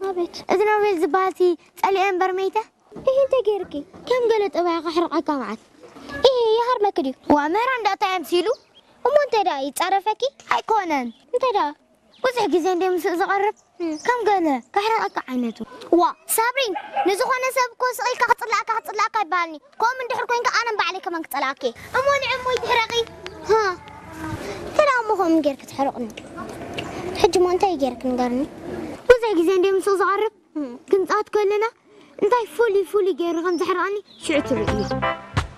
ኣቤት። እዚ ኖቤል ዝበሃል ሲ ጸሊኤ እምበር መይተ? ይህ እንተ ጌርኪ? ከም ገለ ጠባያ ከሕርቐካ መዓት። ይህ ይሃርመኪ ድዩ? ዋ፣ ምህራ እንዳታ ኣምሲሉ። እሞ እንተ ደኣ ይጻረፈኪ? ኣይኮነን። እንተ ደኣ? ብዙሕ ግዜ እንደ ምስኡ ዝቐርብ፣ ከም ገለ ከሕርቐካ ዓይነቱ። ዋ፣ ሳብሪን፣ ንዝኾነ ሰብ እኮ ስቕ ኢልካ ክጽላእካ፣ ክጽላእካ ይበሃልኒ። ከምኡ እንድሕር ኮይንካ ኣነ ንባዕለይ ከማን ክጸላእኪ። እሞ ንዕሞይ ትሕረቒ? ሃ፣ እንተ ደኣ እሞ ከምኡ ጌርኪ ትሕርቕኒ። ሕጂ እሞ እንታይ ጌርኪ ንገርኒ? ብዙሕ ግዜ እንደ ምስኡ ዝቐርብ፣ ክንጻወት ከለና እንታይ ፍሉይ ፍሉይ ገይሩ ከም ዘሕርቐኒ ሽዑ ትርእዮ።